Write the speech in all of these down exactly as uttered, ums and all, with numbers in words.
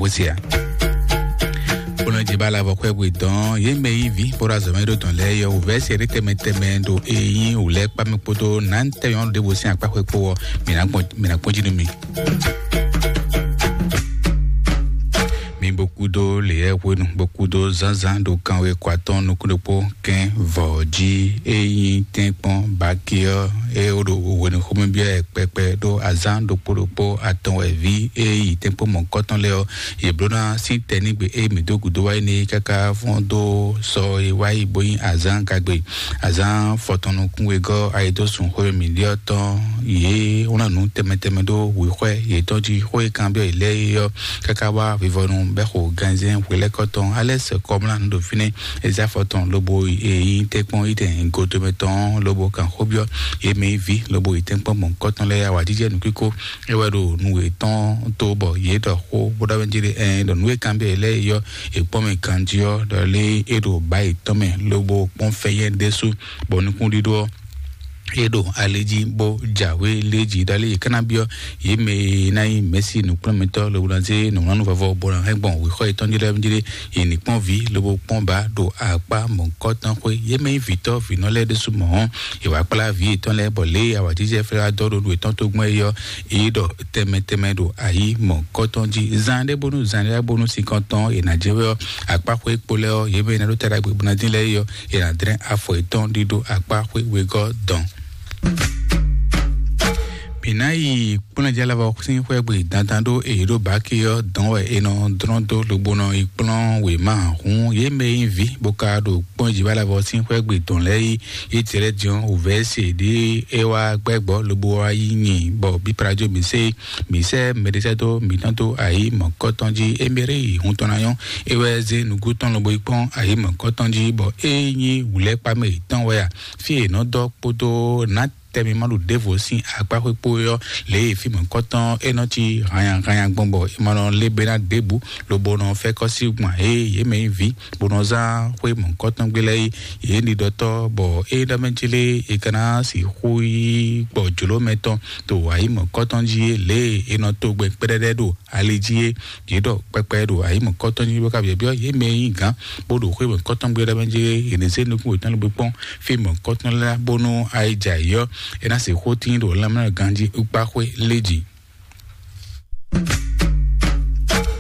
Wosea. Bónú jì bá la vɔ xwɛ bwe dɔn yé mɛ yí vi bóra zɔmɛ ɖo dɔn lɛ yɔ wòvɛ se ɖe tɛmɛ tɛmɛ ɖo eyin wòlɛ kpamɛ kpódó nan tɛmɛ ɔn ɖe bo sin akpa xwɛ kpó wɔ. Mina kpɔn, mina kpɔn jí nú mi. Mi bo kúdó leyɛ hwenu bo kúdó zánzán ɖo kanwe kɔ atɔn nukún ɖokpó kɛn vɔ jí eyin tɛnkpɔn bakiɔ e o ɖo hwenu xomɛ biɔ ɛ kpɛkpɛ ɖo azán ɖokpó ɖokpó atɔn wɛ vi e yi tɛnkpɔn mɔ̌kɔtɔn lɛ́ɛ ɔ́, yě bló ná sín tɛnígbe e mǐ dó gǔdo wá yi n'i káká fɔ́n dó sɔ e wá yi bó nyí azǎn gagbe. Azǎn fɔtɔn nukún wegɔ́ ayidósun xwé mǐɖyɔ́ tɔn yě wlán nǔ tɛnmɛ tɛnmɛ ɖó wěxwɛ́ yětɔn jí xó e kanbyɔ́ yě lɛ́ɛ é ɔ́, káká wá vivɔnu bɛ́ xo ganzɛ́n hwelɛ́kɔ tɔn alɛ́ sɛkɔmlá nǔ ɖo fínɛ́. Ezafɔ tɔn lobo yi tɛ́nkpɔ́n yi tɛn godomɛ tɔn lobo kan xó byɔ́ yě mɛ yi ví lobo yi tɛ́nkpɔ́n mɔ̌kɔtɔn lɛ́ɛ awǎjijɛ nǔkíkó. É wɛ ɖo nǔ yětɔn tó bɔ yě ɖɔ xó bó ɖɔ wɛ jí ɖe ɛn ɖɔ nǔ e kanbyɔ́ yě lɛ́ɛ é ɔ́, è kpɔ́n mɛ ganjí ɔ́ ɖɔ lé é ɖo bǎ yětɔn mɛ lobo kpɔ́n fɛ́yɛ́ ɖésú bɔ nukúnɖíɖó ɔ́ é ɖo ali jí bó jǎwe lé jí ɖɔ lé yě ká ná byɔ́ yě mɛ e ná nyí mɛ̌si nǔkplɔ́nmɛtɔ́ lobo ná zé nǔwlánú vɔvɔ bó ná hɛn gbɔn wěxɔ yětɔn jí lɛ́ɛ jí lé yě ní kpɔ́n vǐ lobo kpɔ́n bǎ ɖo akpá mɔ̌kɔtɔn xwé. Yě mɛ nyí vǐtɔ́ vǐnɔ lɛ́ɛ ɖésú mɔ̌ ɔ́, è wǎ kplá vǐ yětɔn lɛ́ɛ bɔ lě e awǎjijɛ fɛ́ wá dɔ́ ɖo nú yětɔn tó gbɔn é ɔ́, é ɖɔ tɛnmɛ tɛnmɛ ɖo ayǐ mɔ̌kɔtɔn jí. Zan ɖé bónú zan ɖé bónú sinkɔn tɔn è nǎ jɛ wɛ ɔ́, akpá xwé kpo lɛ́ɛ ɔ́, yě mɛ e ná ɖó taɖagbe bó ná dín lɛ́ɛ é ɔ́, è nǎ dlɛ́n afɔ yětɔn ɖíɖó akpá xwé wegɔ́ dɔn. Mǐ ná yi kplɔ́njɛ́lɛvɔ sín xwé gbe dandan ɖó èyí ɖó báki ɔ́ dɔn wɛ è nɔ dlɔ́n dó lobo nɔ yi kplɔ́n wěma hǔn yě mɛ e nyí vǐ bó ka ɖo kpɔ́n jǐ bá lɛvɔ sín xwé gbe dɔn lɛ́ɛ yi yě jɛ lɛ́ din ɔ́ wǔvɛ́ se ɖě é wá gbɛ́gbɔ́ lobo wá yi nyi bɔ bíplajo mǐ se mǐ sɛ́ mɛɖisɛ́dó mǐtɔn dó ayǐ mɔ̌kɔtɔn jí émɛ́rí yi hun tɔn ná nyɔ́. É wɛ zé nǔgú tɔn lobo yi kpɔ́n ayǐ mɔ̌kɔtɔn jí bɔ é nyí wǔlɛ́kpamɛ yětɔn wɛ a fí e è nɔ dɔ́ kpódó nǎ tɛmɛ ma ɖo ɖěvo sín akpáxwé kpó é ɔ́, lě e fí mɔ̌kɔtɔn é nɔ cí hanya hanya gbɔn bɔ è ma nɔ lé be ná ɖěbǔ lobo nɔ fɛ́ kɔ́ sí gbɔn ée yě mɛ nyí vǐ bó nɔ zán xwé mɔ̌kɔtɔn gbé lɛ́ɛ é. Yě ní ɖɔtɔ́ bɔ é ɖɔ mɛ jí lé è ka ná sixú yí gbɔ jlǒ mɛ tɔn to ayǐ mɔ̌kɔtɔn jí é lě e è nɔ to gbɛ kpɛɖɛɖɛ ɖo ali jí é. Yě ɖɔ kpɛkpɛ ɖo ayǐ mɔ̌kɔtɔn jí bó ka byɔ̌byɔ́ yě mɛ e nyí gǎn bó ɖo xwé mɔ̌kɔtɔn gbé ɖɔ mɛ jí é. Yě ní zé nukún wětɔn ló gbé kpɔ́n fí mɔ̌kɔtɔn lɛ́ɛ bónú ayǐ jɛ ayǐ ɔ́, é ná sixú tín ɖo lanmɛ ganjí kpáxwé lé jí.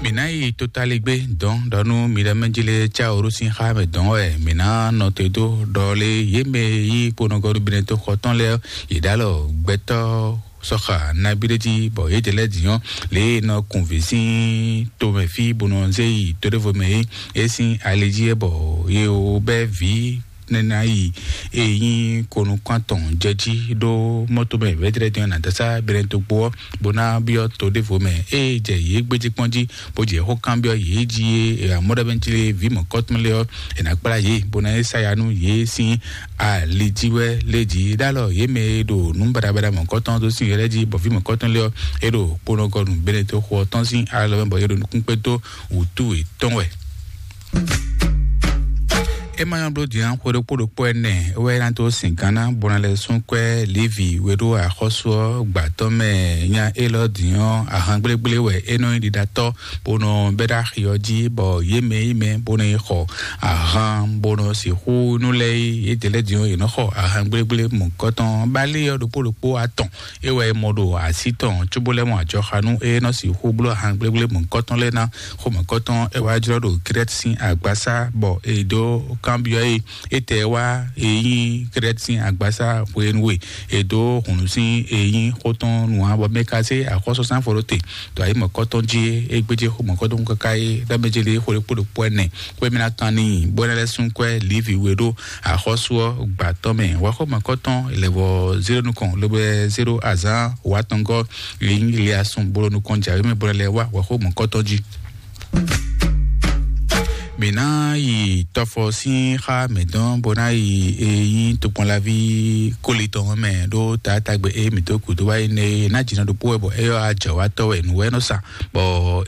Mǐ ná yi totaligbé dɔn ɖɔ nú mi ɖɔ mɛ jí lé cá oró sín xá mɛ dɔn wɛ mǐ ná nɔ te dó ɖɔ lé yě mɛ yí kponɔgɔɖu binetó xɔ tɔn lɛ́ɛ yě ɖó alɔ gbɛtɔ́ sɔxa nabí ɖé jí bɔ yě jɛ lɛ́ dǐn ɔ́ lě e nɔ kun vǐ sín tomɛ fí bó nɔ zé yi to ɖěvo mɛ é é sín ali jí é bɔ yě wǒ bɛ́ vǐ nɛ́ ná yi e nyí konukún atɔn jɛ jí ɖó mɔto mɛ vɛdrɛdɛn na dasa bɛnɛ dogbo ɔ́ bó ná byɔ́ to ɖěvo mɛ ée jɛ yě gbéjé kpɔ́n jí bó jɛ xó kanbyɔ́ yě jí é amɔ́ɖɔmɛjlé vǐ mɔ̌kɔtɔn lé ɔ́ è nǎ kplá yě bó ná é sáya nú yě sín ali jí wɛ lé jí ɖó alɔ yě mɛ e ɖo nǔ baɖabaɖa mɔ̌kɔtɔn dó sín yɔ́ lɛ́ɛ jí bɔ vǐ mɔ̌kɔtɔn lé ɔ́ é ɖo kponɔgɔnu bɛnɛ to xo ɔ́ tɔn sín alɔ mɛ bɔ yě ɖo nukún kpé dó wǔtu yětɔn wɛ. É ma nyɔ́ bló din xwe ɖokpó ɖokpó ɛnɛ wɛ ná dó sin gánná bó ná lɛ́ sún kwɛ́ Levi we ɖó axɔ́sú ɔ́ gbǎtɔ́ mɛ. Nya élɔ́ din ɔ́ ahan gblégblé wɛ é nɔ nyí ɖiɖatɔ́ bó nɔ bɛ́ ɖó axi ɔ́ jí bɔ yě mɛ yí mɛ bó nɔ yi xɔ ahan bó nɔ sixú nú lɛ́ɛ yí yědɛɛ lɛ́ɛ din ɔ́ yě nɔ xɔ ahan gblégblé mɔ̌kɔtɔn bálé ɔ́ ɖokpó ɖokpó atɔn é wɛ é mɔ ɖo así tɔn cóbó lɛ́ mɔ ajɔxanú é nɔ sixú bló ahan gblégblé mɔ̌kɔtɔn lɛ́ɛ ná xomɛkɔtɔn é wá jlɔ́ ɖo Krɛ́t sín agbasá bɔ è dó kanbyɔ́ é étɛ́ wá é nyí Krɛ́t sín agbasá hwenu e è dó hǔnnu sín é nyí xó tɔn nǔ ǎ bɔ mɛ ka zé axɔ́súzán fɔ ɖó te ɖo ayǐ mɔ̌kɔtɔn jí é gbéjé xó mɔ̌kɔtɔn káká é ɖ'amɛ jí lé xó ɖokpó ɖokpó ɛnɛ xwé mɛ ná kan n'i bó ná lɛ́ sún kwɛ́ Livi we ɖó axɔ́sú ɔ́ gbǎtɔ́ mɛ wá xó mɔ̌kɔtɔn lɛ̌vɔ zéro nukɔn lobo zéro azǎn wǎtɔngɔ́ Liliasun bolo nukɔn jǎwe mɛ bó ná lɛ́ wá wá xó mɔ̌kɔtɔn jí. Mǐ ná yi tɔfɔ sín xá mǐtɔn bó ná yi e nyí tokpɔnlaví kólitɔn mɛ ɖó taátagbe e mǐ dó gǔdo wá yi nɛ é ná jǐnɔ ɖokpó wɛ bɔ é yɔ ajɔ̌wátɔ́ wɛ nǔ wɛ nɔ sa bɔ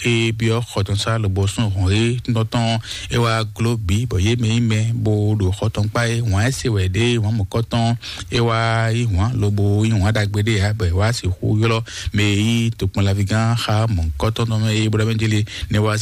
é byɔ́ xɔtɔnsá lobo sún hɔn é tɔn tɔn é wá gló bǐ bɔ yě mɛ nyí mɛ bó ɖo xɔtɔn kpá é wǎn ɛ se wɛ ɖé wǎn mɔ̌kɔtɔn é wá yí wǎn lobo yí wǎn ɖagbe ɖé ǎ bɔ é wá sixú ylɔ́ mɛ e nyí tokpɔnlaví gán xá mɔ̌kɔtɔn tɔn mɛ é bó ɖɔ mɛ jélé ne wá